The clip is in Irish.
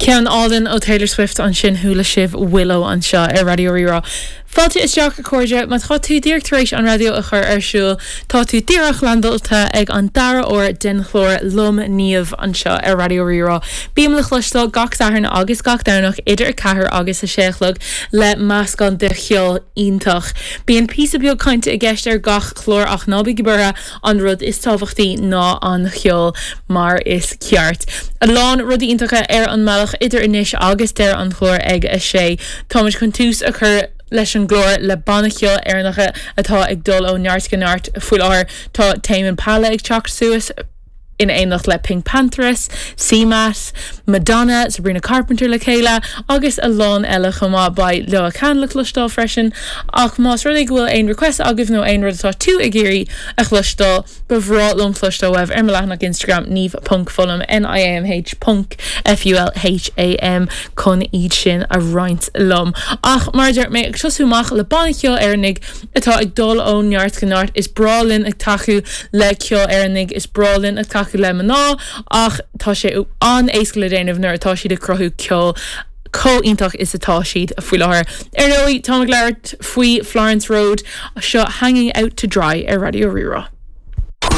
Ceann álainn ó Taylor Swift ansin chuala sibh Willow anseo ar Raidió Rí-Rá. Fáilte isteach a chairde, má tá tú díreach tar éis an raidió a chur ar siúl, tá tú díreach landáilte ag an dara huair den chlár liom Niamh anseo ar Raidió Rí-Rá. Bím le cloisteáil gach Satharn agus gach Domhnach idir 4 agus 6 a chlog le meascán de cheol iontach. Bíonn píosa beag cainte i gceist ar gach clár ach ná bígí buartha, An rud is tábhachtaí ná an cheol mar is ceart. A lán rudaí iontacha ar an mbealach idir anois agus deireadh an chláir ag a sé. Táimid chun tús a chur leis an gclár le banna ceoil Éireannacha atá ag dul ó neart go neart faoi láthair. Tá Tame Impala ag teacht suas in éineacht le PinkPantheress, CMAT, Madonna, Sabrina Carpenter le chéile agus a lán eile chomh maith. Beidh Leo Khan le cloisteáil freisin. Ach más rud é go bhfuil aon request agaibh nó aon rud atá tú ag iarraidh a chloisteáil, ba bhreá liom cloisteáil uaibh ar mo leathanach Instagram niamh ponc fulham, N-I-A-M-H ponc F-U-L-H-A-M, chun iad sin a roinnt liom. Ach mar a deir mé, ag tosú amach le banna ceoil Éireannaigh atá ag dul ó neart go neart, is breá linn ag tacú le ceol Éireannaigh, is breá linn ag tacú le mná, Ach tá sé an-éasca le déanamh nuair atá siad ag cruthú ceol chomh iontach is atá siad faoi láthair. Ar ndóigh, táim ag labhairt faoi Florence Road, seo Hanging Out To Dry ar Raidió Rí-Rá.